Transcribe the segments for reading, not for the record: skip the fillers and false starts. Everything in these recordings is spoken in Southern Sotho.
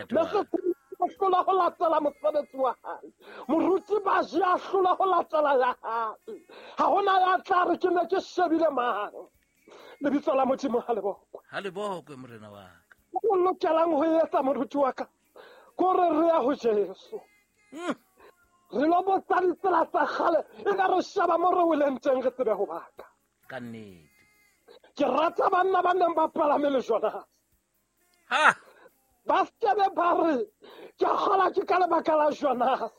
Ntate wa hlola ho latela mosebetsi wa hae. Moruti Baji a hlola ho latela ya hae. Ha hona ya tla re ke ne ke shebile mang. Lebitso la Modimo ha le bokwe. Ha le bokwe morena wa ka. O lokelang ho etsa moruti wa ka kore re ya ho Jesu. Re lo botsa ditsela tsa kgale e ka re sheba mo re weleng teng re tsebe ho baka. Ka nnete. Ke rata banna ba neng ba palame le Jonas. Ha! Ba skebe ba re ke kgola ke ka lebaka la Jonas.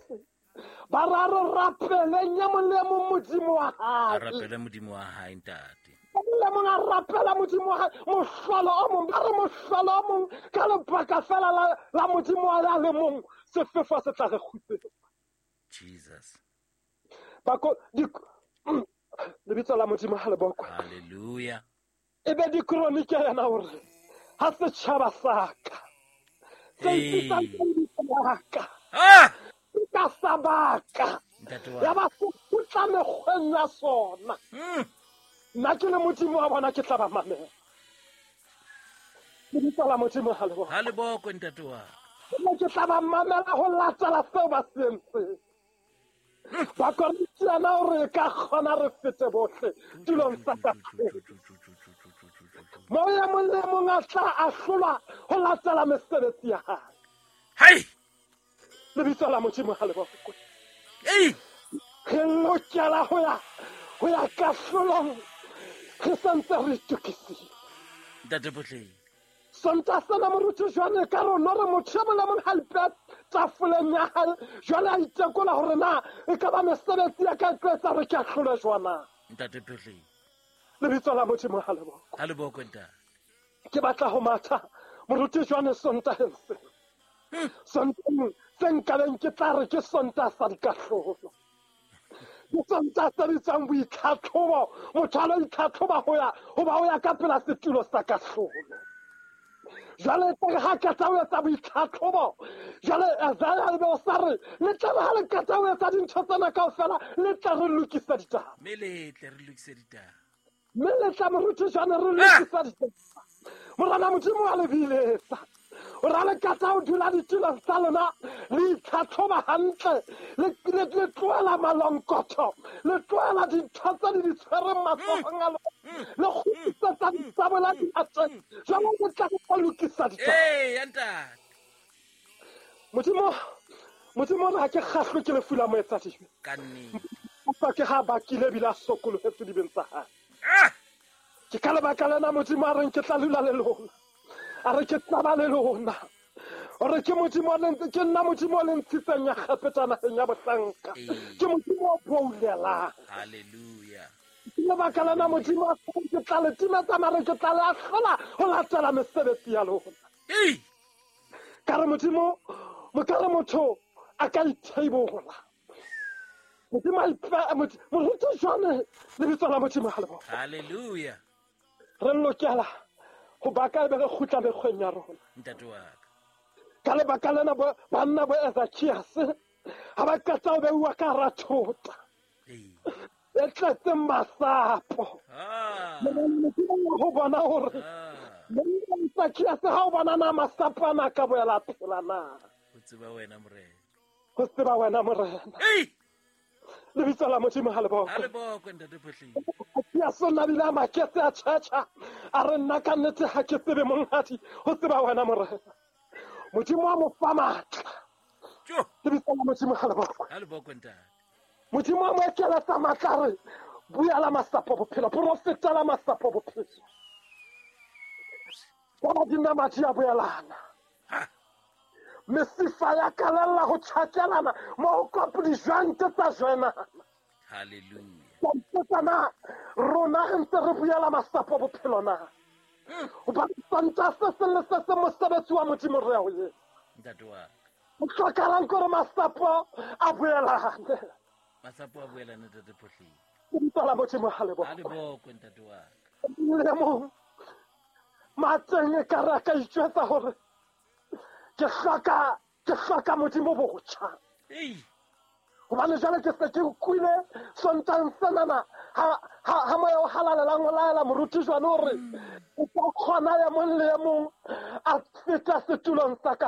Ba ra re rapeleng e mong le mong Modimo wa hae. A rapele Modimo wa hae ntate. Le mong a rapela Modimo wa hae. Mohlolo o mong, ba re mohlolo o mong ka lebaka fela la Modimo wa ya le mong sefefo se tla re kgutsetsa. Jesus. Bako lebitso la Modimo ha le bokwe. Hallelujah. E be dikronike yena hore ha setjhaba sa ka se ipitsang ka lebitso la ka. Ah! Ka sa baka. Ntate wa. Ya ba se kgutla mekgweng ya sona. Nna ke le Modimo wa bona ke tla ba mamela. Lebitso la Modimo ha le bokwe. Ha le bokwe ntate wa. Nna ke tla ba mamela ho latela seo ba se entseng. Ba Korintiana hore e ka kgona re fete bohle tulong sa kahlolo. Moo e mong le mong a tla ahlolwa ho latela mesebetsi ya hae. Hai! Lebitso la Modimo ha le bokwe. Ei! Re lokela ho ya kahlolong re santse re itokisitse. Ntate Potleng. Sonta sena moruti jwale ka rona re motho e mong le mong ha ipeha tafoleng ya hae jwale a itekola hore na e ka ba mesebetsi ya ka e tlo etsa hore ke ahlolwe jwang na. Ntate Potleng. Lebitso la Modimo ha le bokwe. Ha le bokwe ntate. Ke batla ho matha moruti jwale Sontaheng se. Sontaheng se nkabeng ke tla re ke Sontaha sa dikahlolo. Ke Sontaha se bitswang boitlhatlhobo. Motho a lo itlhatlhoba ho ya ho ba ho ya ka pela setulo sa kahlolo. Jwale tlare ha qeta ho etsa boitlhatlhobo, jwale Isaiah ebe o sa re le tlare ha le qeta ho etsa dintho tsena kaofela le tla re lokisa ditaba. Mme le tle re lokise ditaba. Mme le tla moruti jwale re lokisa ditaba. Morena Modimo wa le biletsa. O ra le qeta ho dula ditulong tsa lona le itlhatlhoba hantle, le tlohela malonkotho, le tlohela dintho tse le di tshwereng matsohong a lona, le kgutlisetsa disabola diatleng. Jwale le tla re lokisa ditaba. Ee, ntate. Modimo re ha ke kgahlwe ke lefu la moetsadibe. Ka nnete. Empa ke ha bakile ebile a sokolohetse dibeng tsa hae. Ah! Ke ka lebaka lena Modimo a reng ke tla lula le lona. A re ke tla ba le lona. Ore ke Modimo le ntse ke nna Modimo le ntshitseng ya kgapetsa naheng ya bohlanka. Ke Modimo o boulelang. Hallelujah. Ke lebaka lena Modimo a reng ke tla le timetsa mare ke tla le ahlola ho latela mesebetsi ya lona. Ei! Ka re Modimo, ka re motho a ka itheibola. Modimo a ipe- moruti jwale lebitso la Modimo ha le bokwe. Hallelujah. Re lokela ho baka ebe re kgutla mekgweng ya rona. Ntate wa ka. Ka lebaka lena banna bo Ezekias ha ba qeta ho beuwa ka hara thota. Ei. E tletseng masapo. Ah. Modimo wa ho bona hore Ah. monna Ezekias ha o bona na masapo ana a ka boela a phela na. Ho tseba wena morena. Ho tseba wena morena. Ei! Lebitso la Modimo ha le bokwe. Ha le bokwe ntate Potleng. Ezekias o nabile a maketse a tjhetjha. A re nna ka nnete ha ke tsebe monghadi, ho tseba wena morena. Modimo wa mo fa matla. Tjo. Lebitso la Modimo ha le bokwe. Ha le bokwe ntate. Modimo wa mo ekeletsa matla a re buela masapo bophelo, profetela masapo bophelo. Ka ba dinama di a boelana. Ha. Mesifa ya kalella ho tjhakelana mo ho kopo dijwante tsa jwenana. Hallelujah. Ka ipotsa na rona re ntse re buela masapo bophelo na? Hobane Sontaha se seng le se seng mosebetsi wa Modimo re ya ho etsa. Ntate wa ka. Ho hlokahalang ke hore masapo a boelane. Masapo a boelane ntate Potleng. Lebitso la Modimo ha le bokwe. Ha le bokwe ntate wa ka. Le mong mateng e ka re a ka itjwetsa hore ke hloka Modimo botjha. Ei! Hobane jwale ke se ke utlwile Sontaheng senana ha moya o halalelang o laela moruti jwale hore o tla kgona e mong le e mong a feta setulong sa ka.